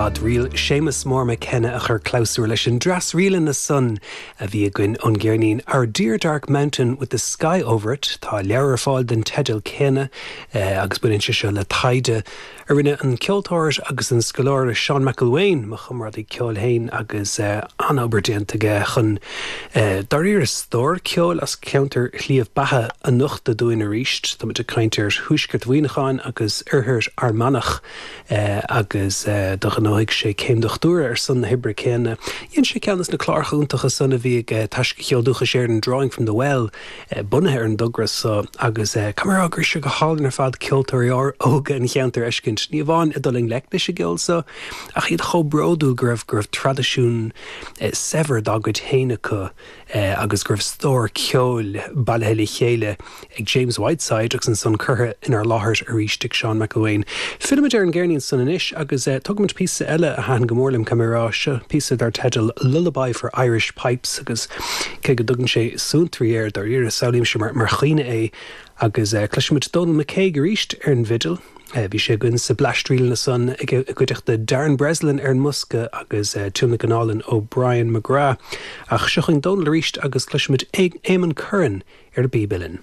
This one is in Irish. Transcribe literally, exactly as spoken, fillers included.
fad. Ríl Séamus Mór McKenna a chur clabhsúr leis an dreas ríleanna san a bhí againn ón gceirnín Our Dear Dark Mountain with the Sky Over It tá leabhar ar fáil den teideal céanna eh, agus baineann sé seo le taighde a rinne an ceoltóir agus an scoláire Seán McElwain mo chomrádaí ceoil féin agus eh, an-obair déanta aige chun eh, dáiríre stór ceoil as ceantar Shliabh Beatha a nochtadh dúinn arís Tá ag caint ar thuaisceart Mhuineacháin agus oirthear Fhear Manach eh, agus eh, do ghnóthaigh sé céim dochtúra ar son na hoibre céanna. Dhein sé ceann de na cláracha iontacha san a bhí ag eh, Taisce Cheol Dúchais Éireann Drawing from the Well eh, bunaithe ar an dtogra so agus eh, camará gur se go hálainn ar fad ceoltóirí óga an cheantair a fheiscint. Ní amháin ag dul i ngleic leis an gceol so ach iad chomh bródúil go raibh go raibh traidisiún eh, saibhir dá gcuid féin acu eh, agus go raibh stór ceoil bailithe le chéile ag James Whiteside agus ansan curtha inár láthair arís ag Seán McElwain. Fillimid ar an gceirnín san anois agus eh, tugaimid píosa eile a thaitin go mór liom camará seo píosa dar teideal Lullaby for Irish Pipes agus cé go dtugann sé suantraí air dáiríre samhlaím mar mar chaoineadh é agus uh, cloisimid Donal McCague arís ar an bhfidil. Uh, bhí sé againn sa bleaistríleanna san ag i gcuideachta Darren Breslin ar an mbosca agus uh, tionlacan álainn ó Brian McGrath. Ach seo chugainn Donal arís agus cloisimid Éamonn Curran ar an bpíb uilleann.